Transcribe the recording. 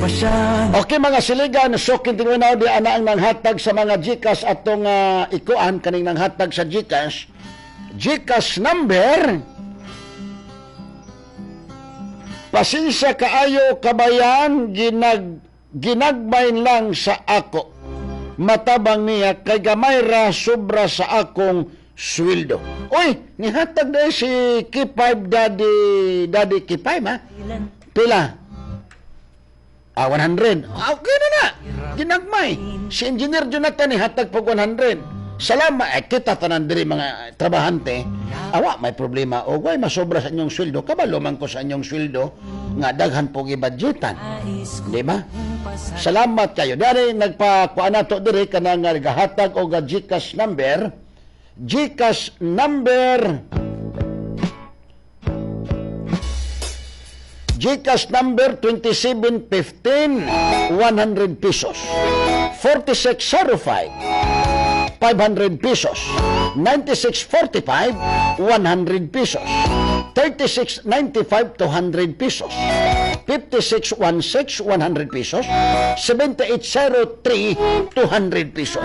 Okay, mga siligan, so kintingon na di ana ang nanghatag sa mga GCash atong ikuan kaning nanghatag sa GCash. GCash number. Pasensya kaayo, kabayan, ginagmay lang sa ako. Matabang niya kay gamay ra sobra sa akong sweldo. Uy, nihatag na si K5 Daddy, Daddy K5 ha? Pila? Ah, 100. Ah, okay na na. Ginagmay. Si Engineer Jonathan nihatag pag 100. Salamat. Eh, kita tanan diri mga trabahante. Awa, may problema. O, way, masobra sa inyong sweldo. Kabalo man ko sa inyong sweldo nga daghan po gibadgetan. Di ba? Salamat kayo. Dari nagpakuan nato diri kanang gahatag og GCash number. GCash number GCash number 2715, 100 pesos. 4605, 500 pesos. 9645, 100 pesos. 3695, 200 pesos. 5616, 100 pesos. 7803, 200 pesos.